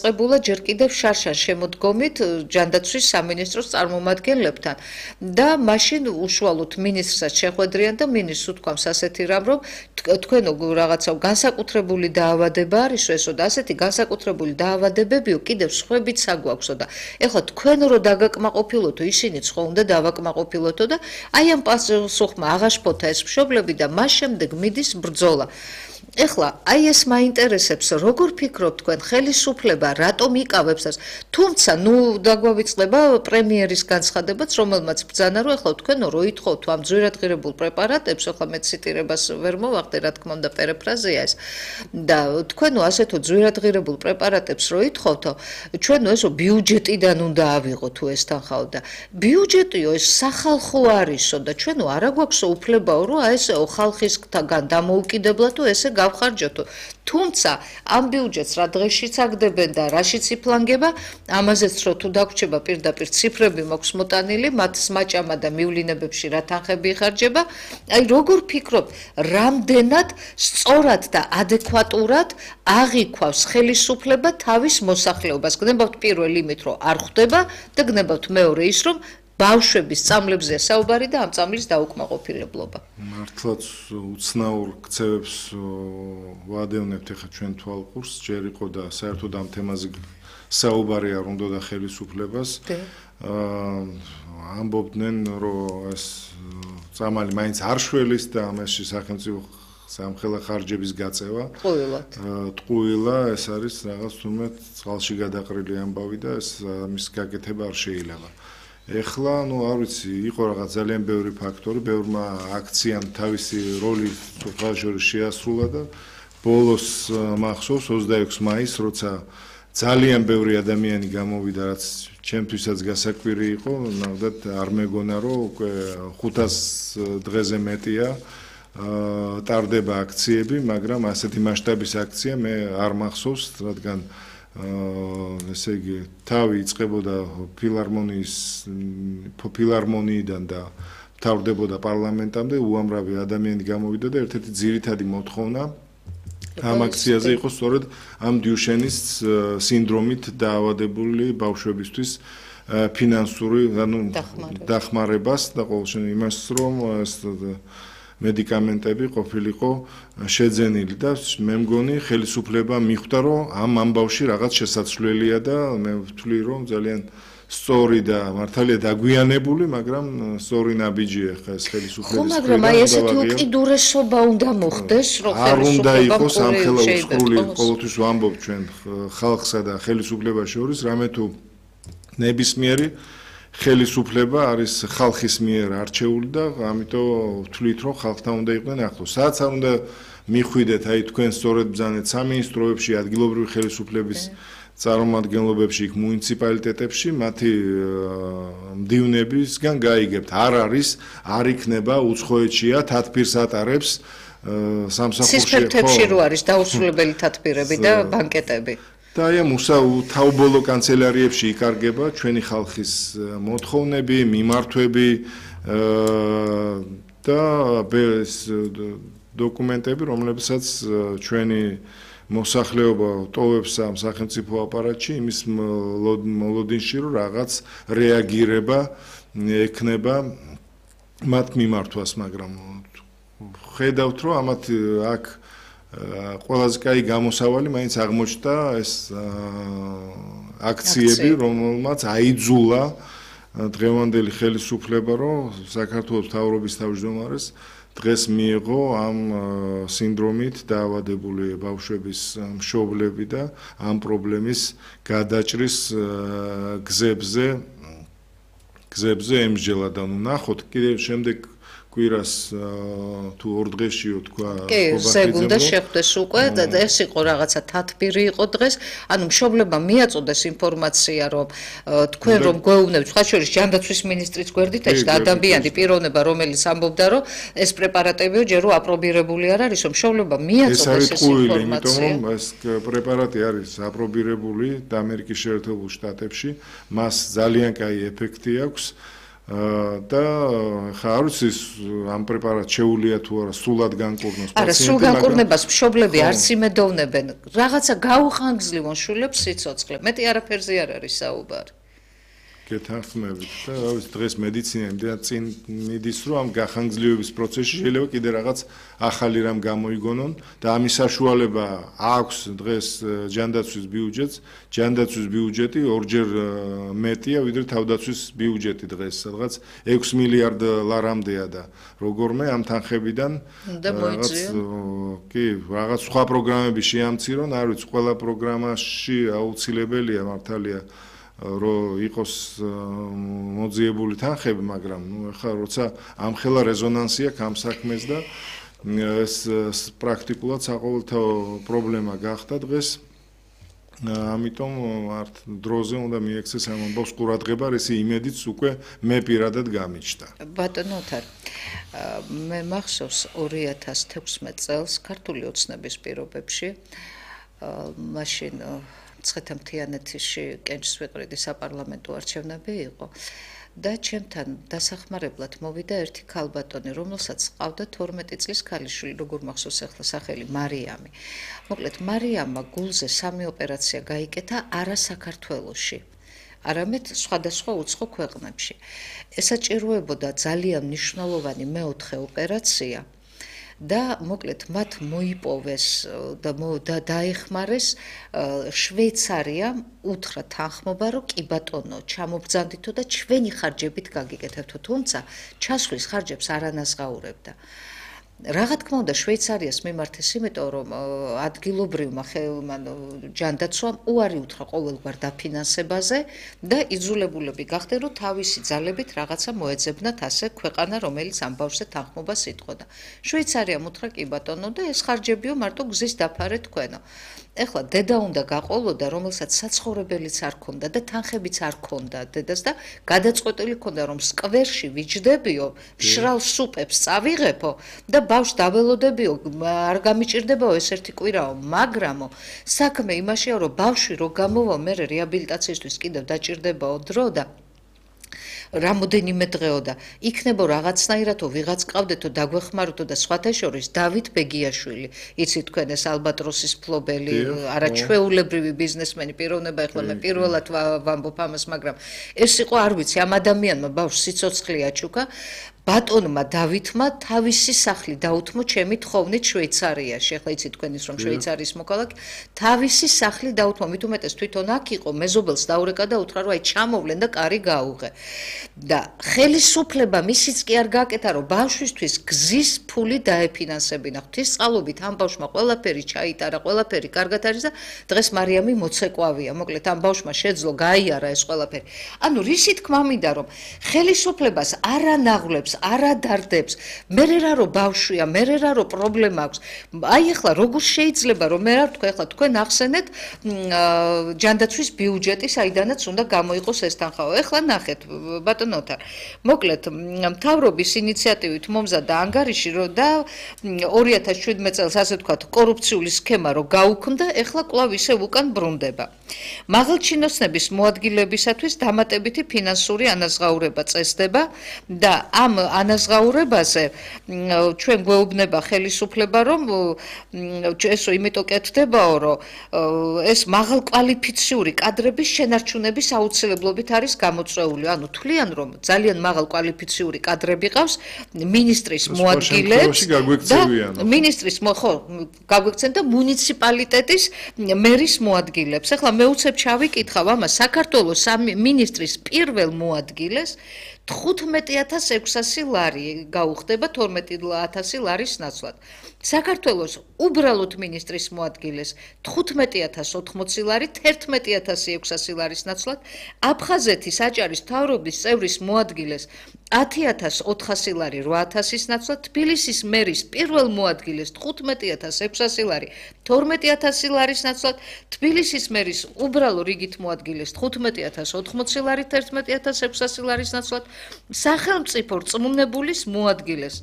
ყებულა ჯერ კიდევ შარშან შემოდგომით ჯანდაცვის სამინისტროს წარმომადგენლებთან და მაშინ უშუალოდ მინისტრსაც შეხვედრიან და მინისტრს უთქვამს ასეთი რამ, რომ თქვენო რაღაცა განსაკუთრებული დაავადება არისო ესო და ასეთი განსაკუთრებული დაავადებებიო კიდევ სხვებით საგვაქვსო და ეხლა თქვენ რო დაგაკმაყოფილოთო ისინიც ხო უნდა დავაკმაყოფილოთო და აი ამ პასუხმა აღაშფოთა ეს მშობლები და მას შემდეგ მიდის ბრძოლა. ეხლა აი ეს მაინტერესებს როგორ ფიქრობთ თქვენ ხელისუფლება რატომ იკავებს ეს თუმცა ნუ დაგვავიწყდება პრემიერის განცხადებაც რომელმაც ბრძანა რომ ეხლა თქვენო რო ითხოვთ ამ ძვირადღირებულ პრეპარატებს ეხლა მე ციტირებას ვერ მოვახდე რა თქმა უნდა პერიფრაზია ეს და თქვენო ასეთო ძვირადღირებულ პრეპარატებს რო ითხოვთო ჩვენო ესო ბიუჯეტიდან უნდა ავიღო თუ ეს თანხაო და ბიუჯეტიო ეს სახალხო არისო და ჩვენო არა გვაქვსო უფლებაო რომ აი ესეო ხალხისგან დამოუკიდებლადო ესე გავხარჯოთო თუმცა ამ ბიუჯეტს რა დღეშიც აგდებენ და რაშიც იფლანგება ამაზეც რო თუ დაგვრჩება პირდაპირ ციფრები მაქვს მოტანილი მათ სმაჭამა და მივლინებებში რა თანხები იხარჯება აი როგორ ფიქრობთ რამდენად სწორად და ადეკვატურად აღიქვავს ხელისუფლება თავის მოსახლეობას გნებავთ პირველ იმით რომ არ ხვდება და გნებავთ მეორე ის რომ ბავშვების წამლებზეა საუბარი და ამ წამლის დაუკმაყოფილებლობა. მართლაც უცნაურ ქცევებს ვადევნებთ ახლა ჩვენ თვალყურს, ჯერ იყო და საერთოდ ამ თემაზე საუბარი არ უნდა და ხელისუფლებას. ამბობდნენ, რომ ეს წამალი მაინც არ შველის და ამაში სახელმწიფო სამხელა ხარჯების გაწევა. ტყუილა ეს არის რაღაც თუმცა წყალში გადაყრილი ამბავი და ეს მის გაკეთება არ შეიძლება. ეხლა, არ ვიცი, იყო რაღაც ძალიან ბევრი ფაქტორი, ბევრმა აქციამ თავისი როლი ხალხში შეასრულა და ბოლოს მახსოვს 26 მაისს, როცა ძალიან ბევრი ადამიანი გამოვიდა, რაც ჩემთვისაც გასაკვირი იყო, ნახდათ არ მეგონა, რომ უკვე 500 დღეზე მეტია ტარდება აქციები, მაგრამ ასეთი მასშტაბის აქცია მე არ მახსოვს, რადგან ესე იგი თავი იწყებოდა ფილარმონიიდან და მთავრდებოდა პარლამენტამდე უამრავი ადამიანი გამოვიდა და ერთ-ერთი ძირითადი მოთხოვნა ამ აქციაზე იყო სწორედ ამ დიუშენის სინდრომით დაავადებული ბავშვებისთვის ფინანსური დახმარებას და ყოველ შემთხვევაში იმას რომ მედიკამენტები ყოფილიყო შეძენილი და მე მგონი ხელისუფლება მიხვდა რომ ამ ამბავში რაღაც შესაძლებელია და მე ვთვლი რომ ძალიან სწორი და მართალია დაგვიანებული, მაგრამ სწორი ნაბიჯია ხა ეს ხელისუფლების. ხო, მაგრამ აი ესეთი უკიდურესობა უნდა მოხდეს, რომ არ უნდა იყოს სამხელა უსხლული, ყოველთვის ვამბობ ჩვენ ხალხსა და ხელისუფლებას შორის, რამე თუ ნებისმიერი ხელისუფლება არის ხალხის მიერ არჩეული და ამიტომ ვთვლით რომ ხალხთან უნდა იყვნენ ახლოს. სადაც არ უნდა მიხვიდეთ, აი თქვენ სწორედ ბრძანეთ სამინისტროებში, ადგილობრივი ხელისუფლების წარმომადგენლობებში, იქ მუნიციპალიტეტებში, მათი მდივნებისგან გაიგებთ, არ იქნება უცხოეთშია თათბირს ატარებს სამსახურში. სისფერთებში რო არის დაუსრულებელი თათბირები და ბანკეტები. და აი ამ თაუბოლო კანცელარიებში იკარგება ჩვენი ხალხის მოთხოვნები, მიმართვები და ეს დოკუმენტები, რომლებსაც ჩვენი მოსახლეობა ტოვებს ამ სახელმწიფო აპარატში, იმის მოლოდინში, რომ რაღაც რეაგირება ექნება მათ მიმართვას, მაგრამ ხედავთ, რომ ამათ აქ ყველაზე კაი გამოსავალი მაინც აღმოჩნდა ეს აქციები, რომელმაც აიძულა დღევანდელი ხელისუფლება, რომ საქართველოს მთავრობის თავმჯდომარეს დღეს მიიღო ამ სინდრომით დაავადებული ბავშვების მშობლები და ამ პრობლემის გადაჭრის გზებზე ემსჯელა და ნახოთ კიდევ შემდეგ კვირას თუ ორ დღეშიო თქვა ზეგუნდა შეხვდეს უკვე და ეს იყო რაღაცა თათბირი იყო დღეს ანუ მშობლებმა მიაწოდეს ინფორმაცია რომ თქვენ რომ გვეუბნებთ სხვა შორის ჯანდაცვის მინისტრიც გვერდით ეს და ადამიანი პიროვნება რომელიც ამბობდა რომ ეს პრეპარატებიო ჯერ რომ აპრობირებული არ არის რომ მშობლებმა მიაწოდეს ეს ინფორმაცია იმიტომ რომ ეს პრეპარატი არის აპრობირებული და ამერიკის შეერთებულ შტატებში მას ძალიან კაი ეფექტი აქვს და ხა არ ვიცი ამ პრეპარატს შეუულია თუ არა სულად განკურნოს პაციენტი. არა, სულ განკურნებას მშობლები არც იმედოვნებენ. რაღაცა გაუხანგრძლივონ შვილებს სიცოცხლე. მეტი არაფერზე არ არის საუბარი. გეთანხმებით და რა ვიცი დღეს მედიცინა იმდენად წინ მიდის რომ ამ გახანგრძლივების პროცესში შეიძლება კიდე რაღაც ახალი რამ გამოიგონონ და ამის საშუალება აქვს დღეს ჯანდაცვის ბიუჯეტს. ჯანდაცვის ბიუჯეტი ორჯერ მეტია ვიდრე თავდაცვის ბიუჯეტი დღეს სადღაც 6 მილიარდ ლარამდეა და როგორმე ამ თანხებიდან რაღაც სხვა პროგრამები შეამცირონ არ ვიცი ყველა პროგრამაში აუცილებელია მართალია რომ იყოს მოძიებული თანხები, მაგრამ ახლა როცა ამხელა რეზონანსი აქვს ამ საქმეს და ეს პრაქტიკულად საყოველთაო პრობლემა გახდა დღეს. ამიტომ ართ დროზე უნდა მიექცეს ამ ამბავს ყურადღება, ესე იმედიც უკვე მე პირადად გამიჩნდა. ბატონო ოთარ, მე მახსოვს 2016 წელს ქართული ოცნების პირობებში მაშინ მცხეთა-მთიანეთში კენჭს ვიყრიდი საპარლამენტო არჩევნები იყო და ჩემთან დასახმარებლად მოვიდა ერთი ქალბატონი, რომელსაც ჰყავდა 12 წლის ქალიშვილი, როგორ მახსოვს ახლა სახელი მარიამი. მოკლედ მარიამმა გულზე 3 ოპერაცია გაიკეთა არა საქართველოში, არამედ სხვადასხვა უცხო ქვეყნებში. ესაჭიროებოდა ძალიან მნიშვნელოვანი მეოთხე ოპერაცია. და მოკლედ მათ მოიპოვეს და დაეხმარეს შვეიცარიამ უთხრა თანხმობა რომ კი ბატონო ჩამობრძანდითო და ჩვენი ხარჯებით გაგიკეთებთო თუმცა ჩასვლის ხარჯებს არ ანაზღაურებდა რა თქმა უნდა შვეიცარიას მიმართეს იმიტომ რომ ადგილობრივმა ჯანდაცვამ უარი უთხრა ყოველგვარ დაფინანსებაზე და იძულებულები გახდნენ რომ თავისი ძალებით რაღაცა მოეძებნათ ასე ქვეყანა რომელიც ამ ბავშვზე თანხმობას იტყოდა შვეიცარიამ უთხრა კი ბატონო და ეს ხარჯებიო მარტო გზის დაფარე თქვენო ეხლა დედა უნდა გაყოლოდა რომელსაც საცხოვრებელიც არ ქონდა და თანხებიც არ ქონდა დედას და გადაწყვეტილი ქონდა რომ სკვერში ვიჯდებიო მშრალ სუპებს წავიღებო და ბავშვს დაველოდებიო არ გამიჭირდებაო ეს ერთი კვირაო მაგრამო საქმე იმაშია რომ ბავშვი რო გამოვა მე რეაბილიტაციისთვის კიდევ დაჭირდებაო დრო და რამოდენიმე დღეო და იქნებო რაღაცნაირადო ვიღაც ყავდეთო დაგვეხმაროთო და სხვათა შორის დავით ბეგიაშვილი იცით თქვენ ეს ალბატროსის ფლობელი არაჩვეულებრივი ბიზნესმენი პიროვნება ეხლა მე პირველად ვამბობ ამას მაგრამ ეს იყო არ ვიცი ამ ადამიანმა ბავშვს სიცოცხლე აჩუქა ბატონმა დავითმა თავისი სახლი დაუთმო ჩემი თხოვნით შვეიცარიაში ახლა იცით თქვენ ის რომ შვეიცარიის მოქალაქე თავისი სახლი დაუთმო მით უმეტეს თვითონ აქ იყო მეზობელს დაურეკა და უთხრა რომ აი ჩამოვლენ და კარი გაუღე და ხელისუფლება მისიც კი არ გააკეთა რომ ბავშვისთვის გზის ფული დაეფინანსებინა ღვთისწყალობით ამ ბავშვმა ყველაფერი ჩაიტარა ყველაფერი კარგად არის და დღეს მარიამი მოცეკვავია მოკლედ ამ ბავშვმა შეძლო გაიარა ეს ყველაფერი ანუ რისი თქმა მინდა რომ ხელისუფლებას არანაღვლებს არადარდებს მე რა რო ბავშვია მე რა რო პრობლემა აქვს აი ახლა როგორ შეიძლება რომ მე რა ვთქვა ახლა თქვენ ახსენეთ ჯანდაცვის ბიუჯეტი საიდანაც უნდა გამოიყოს ეს თანხაო ახლა ნახეთ ბატონოთა მოკლედ მთავრობის ინიციატივით მომზადდა ანგარიში რომ და 2017 წელს ასე ვთქვათ კორუფციული სქემა რო გაუქმდა ახლა კვლავ ისევ უკან ბრუნდება მაღალჩინოსნების მოადგილებისათვის დამატებითი ფინანსური ანაზღაურება წესდება და ამ ანაზღაურებაზე ჩვენ გვეუბნება ხელისუფლება რომ ესო იმიტომ კეთდებაო რომ ეს მაღალკვალიფიციური კადრების შენარჩუნების აუცილებლობით არის გამოწვეული ანუ თვლიან რომ ძალიან მაღალკვალიფიციური კადრები ყავს ministris მოადგილებს და ministris ხო გაგვექცენ და მუნიციპალიტეტის მერის მოადგილებს ახლა მე უცებ ჩავიკითხავ ამას საქართველოს ministris პირველ მოადგილეს 15600 ლარი გაუხდება 12000 ლარის ნაცვლად. საქართველოს უბრალოდ ministris მოადგილეს 15080 ლარი 11600 ლარის ნაცვლად. აფხაზეთის აჭარის მთავრობის წევრის მოადგილეს 10400 ლარი 8000-ის ნაცვლად. თბილისის მერის პირველ მოადგილეს 15600 ლარი 12000 ლარის ნაცვლად. თბილისის მერის უბრალო რიგით მოადგილეს 15080 ლარი 11600 ლარის ნაცვლად. სახელმწიფო რწმუნებულის მოადგილეს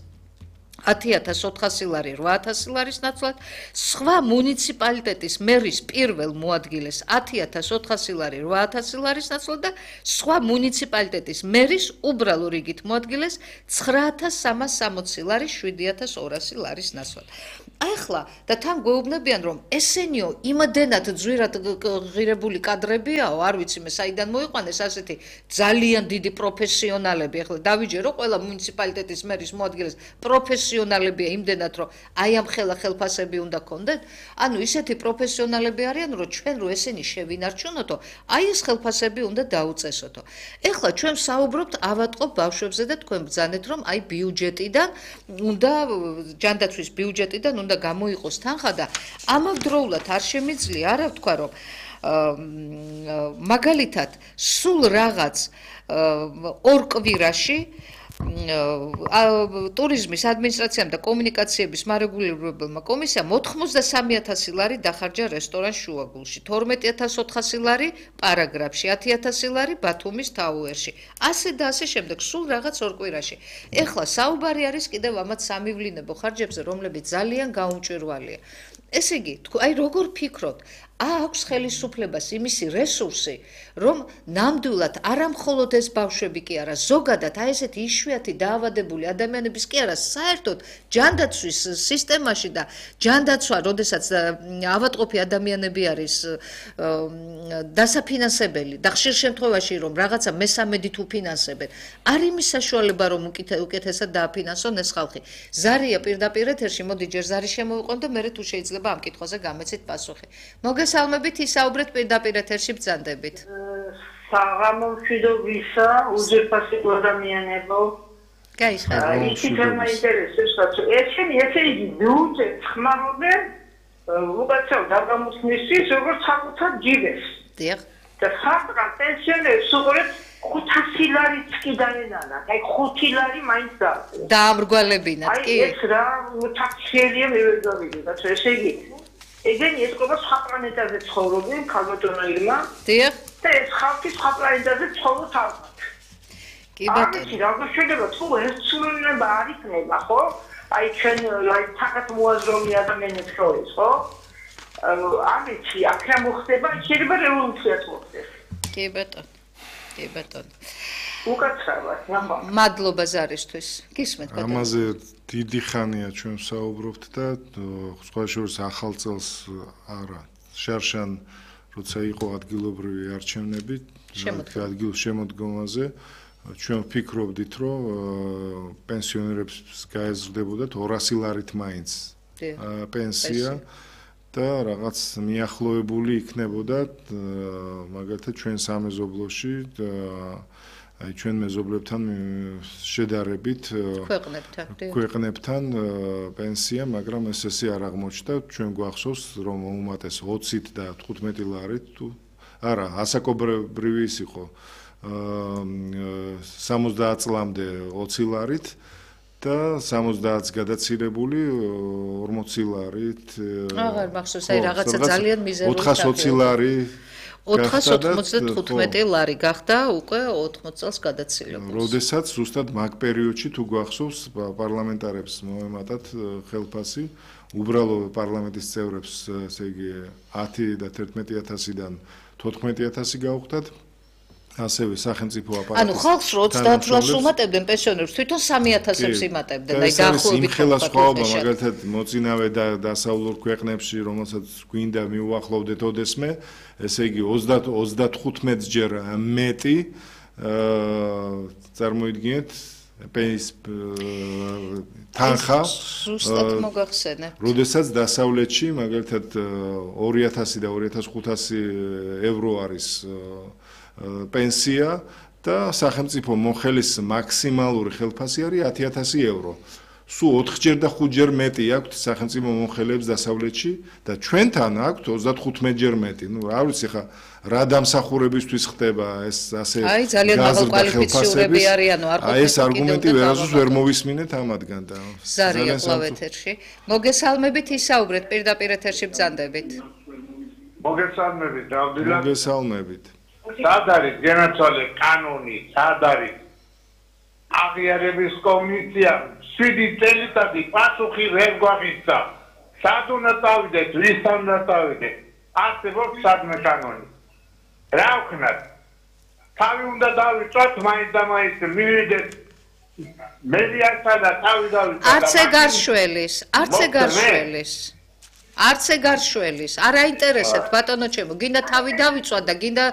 10.400 ლარი 800 ლარის ნაცვლად, სხვა მუნიციპალიტეტის მერის პირველ მოადგილეს 10.400 ლარი 800 ლარის ნაცვლად და სხვა მუნიციპალიტეტის მერის უბრალო რიგით მოადგილეს 9.360 ლარი 7.200 ლარის ნაცვლად. ახლა და თან გვეუბნებიან რომ ესენიო იმდენად ძვირად ღირებული კადრებიაო, არ ვიცი მე საიდან მოიყვანეს ასეთი ძალიან დიდი პროფესიონალები. ახლა დავიჯერო ყველა მუნიციპალიტეტის მერის მოადგილეს პროფესიონალებია იმდენად რომ აი ამ ხელფასები უნდა გქონდეთ. ანუ ისეთი პროფესიონალები არიან რომ ჩვენ რო ესენი შევინარჩუნოთო, აი ეს ხელფასები უნდა დაუწესოთო. ახლა ჩვენ საუბრობთ ავატყობ ბავშვებზე და თქვენ ბრძანეთ რომ აი ბიუჯეტიდან უნდა ჯანდაცვის ბიუჯეტიდან უნდა გამოიყოს თანხა და ამავდროულად არ შემიძლია არა ვთქვა რომ მაგალითად სულ რაღაც ორ კვირაში ტურიზმის ადმინისტრაციამ და კომუნიკაციების მარეგულირებელმა კომისიამ 83.000 ლარი დახარჯა რესტორან შუაგულში, 12.400 ლარი პარაგრაფში, 10.000 ლარი ბათუმის თაუერში. ასე და ასე შემდეგ, სულ რაღაც ორ კვირაში. ეხლა საუბარი არის კიდევ ამათ სამივლინებო ხარჯებზე, რომლებიც ძალიან გაუმჭვირვალეა. ესე იგი, აი როგორ ფიქრობთ, აქვს ხელისუფლებას იმისი რესურსი, რომ ნამდვილად არა მხოლოდ ეს ბავშვები კი არა, ზოგადად აი ესეთი იშვიათი დაავადებული ადამიანების კი არა, საერთოდ ჯანდაცვის სისტემაში და ჯანდაცვა, როდესაც ავადმყოფი ადამიანები არის დასაფინანსებელი და ხშირ შემთხვევაში რომ რაღაცა მესამედით უფინანსებენ, არ იმის საშუალება რომ უკეთესად დააფინანსონ ეს ხალხი. ზარია პირდაპირ ეთერში, მოდი ჯერ ზარი შემოვიყვან და მე თუ შეიძლება ამ კითხვაზე გამეცით პასუხი. მოგესალმებით, ისაუბრეთ პირდაპირ ეთერში ბრძანდებით. საღამო მშვიდობისა, უძვირფასი ადამიანებო. გაიხარეთ. ისიც მაინტერესებს, რომ ესე იგი ბიუჯეტს ხმარობენ უკაცრავ დაგამოწმისთვის, როგორც საკუთარ ჯიბეს. დიახ. და ხალხმა პენსიონერებს უყურებს 500 ლარიც კი დაენანა. აი 5 ლარი მაინც დააწყო. დაამრგვალებინათ, კი. აი ეს რა თაქციელია მე ვერ გავიგე, ესე იგი ეგენი ეს ყობა სხვა პლანეტაზე ცხოვრობენ, ქალბატონო ირმა. დიახ. და ეს ხალხი სხვა პლანეტაზე ცხოვრობს ალბათ. კი ბატონო. აი, რა შეიძლება თუ ეს ცნობილება არ იქნება, ხო? აი ჩვენ აი თაკათ მოაზროვნე ადამიანებს შორის, ხო? ამიცი აქ რა მოხდება, შეიძლება რევოლუციაც მოხდეს. კი ბატონო. კი ბატონო. უკაცრავად, ნახო. მადლობა ზარისთვის. გისმენთ ბატონო. ამაზე დიდი ხანია ჩვენ საუბრობთ და სხვა შორის ახალ წელს არა შარშან როცა იყო ადგილობრივი არჩევნები შემოდგომაზე ჩვენ ვფიქრობდით რომ პენსიონერებს გაეზრდებოდათ 200 ლარით მაინც პენსია და რაღაც მიახლოებული იქნებოდათ მაგალითად ჩვენ სამეზობლოში აი ჩვენ მეზობლებთან შედარებით ქვეყნებთან პენსია, მაგრამ ესე არ აღმოჩნდა, ჩვენ გვახსოვს რომ უმეტეს 20-ით და 15 ლარით თუ არა, ასაკობრივი ის იყო 70 წლამდე 20 ლარით და 70-ს გადაცილებული 40 ლარით. აღარ მახსოვს, აი რაღაცა ძალიან მიზერული 420 ლარი 495 ლარი გახდა უკვე 80 წელს გადაცილებული. როდესაც ზუსტად მაგ პერიოდში თუ გვახსოვს პარლამენტარებს მოემატათ ხელფასი, უბრალო პარლამენტის წევრებს, ესე იგი 10 და 11000-დან 14000 გაუხდათ. ასევე სახელმწიფო აპარატის. ანუ ხალხს 30 ლარს უმატებდნენ პენსიონერებს, თვითონ 3000-ს იმატებდნენ. აი დაახლოებით ხელა სხვაობა, მაგალითად მოწინავე და დასავლურ ქვეყნებში, რომელსაც გვინდა მიუახლოვდეთ ოდესმე, ესე იგი 30-35 ჯერ მეტი წარმოიდგინეთ თანხა ზუსტად მოგახსენე. როდესაც დასავლეთში მაგალითად 2000 და 2500 ევრო არის პენსია და სახელმწიფო მოხელის მაქსიმალური ხელფასი არის 10000 ევრო. სულ 4ჯერ და 5ჯერ მეტი აქვს სახელმწიფო მოხელებს დასავლეთში და ჩვენთან აქვს 35ჯერ მეტი. ნუ რა ვიცი ხა რა დამსახურებისთვის ხდება ეს ასე აი ძალიან მაღალკვალიფიცირებული არიანო არ ყოფილი. აი ეს არგუმენტი ვერასდროს ვერ მოვისმინეთ ამათგან და ზარია კლავ ეთერში. მოგესალმებით, ისაუბრეთ პირდაპირ ეთერში ბრძანდებით. მოგესალმებით, დავდილა. მოგესალმებით. სად არის განაცვალე კანონი, სად არის აღიარების კომისიამ 7 წელიწადი პასუხი ვერ გვაღიცა. სად უნდა წავიდეთ, ვისთან უნდა წავიდეთ? არსებობს სადმე კანონი. რა ვქნათ? თავი უნდა დავიწვათ, მაინც და მაინც მივიდეთ მედიასა და თავი დავიწვათ. არც ეგ არ შველის. არ აინტერესებთ ბატონო ჩემო, გინდა თავი დავიწვათ და გინდა